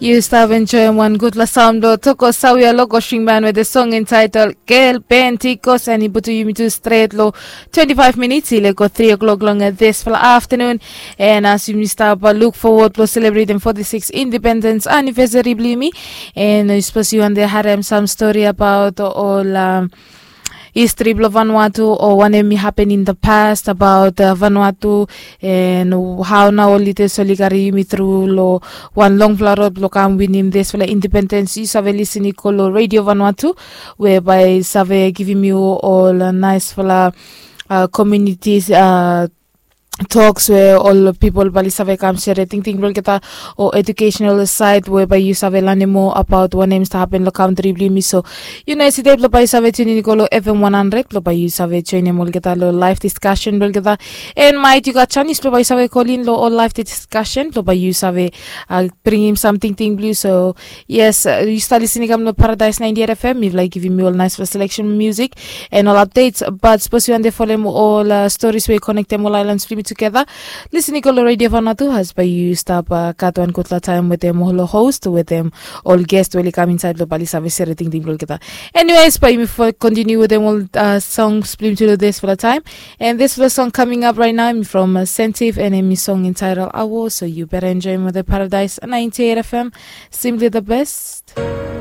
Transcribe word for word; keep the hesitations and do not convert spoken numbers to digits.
Yu stap enjoem wan gudfala saun blong Toko Sawia Loko Shingman we de song entitled Gel Pentikos, and i putum yumi tu stret long twenty-five minutes i lego three o'clock long disfala afternoon. And as yumi stap uh, look forward blong celebrating forty-six independence anniversary blong yumi, and uh, suppose you want to harem some story about all um, history blong Vanuatu o wanem i happen in the past about uh, Vanuatu, and how nao ol leaders oli kari yumi through lo wan longfala rod blong kam winim disfala independence, yu save lisin i go lo Radio Vanuatu, we bai save givim yu ol uh, naisfala uh, communities uh, talks we ol pipol bali save kam sere tingting blong olgeta o educational side we bai yu save lanem moa abaot wanem i stap hapen long kantri blong yumi. So yu no hesitate blong bai yu save tunin i go long F M one hundred blong bai yu save joinim olgeta long live discussion blong olgeta. And mait yu gat janis blong bai yu save kolin long ol live discussion blong bai yu save uh, bringim sam tingting blong yu. So yes, uh, yu stap lisin i kam long Paradise ninety-eight F M. Mifala i givim yu ol naisfala selection music and ol updates. But sapos yu wante folem ol uh, stories we i konektem ol islands blong yumi tugeta, lisin i go long Radio Vanuatu, as bai yu stap uh, gat wan gudfala taem wetem ol host, wetem ol guest we oli kam insaed blong bali save sere tingting blong olgeta. Anyways, bai yumi continue wetem ol uh, songs blong yumi tu long disfala taem. And disfala song coming up right now from uh, Sentive, and hemi song entitled Awo. So yu beta enjoem wetem Paradise ninety-eight F M, simply the best.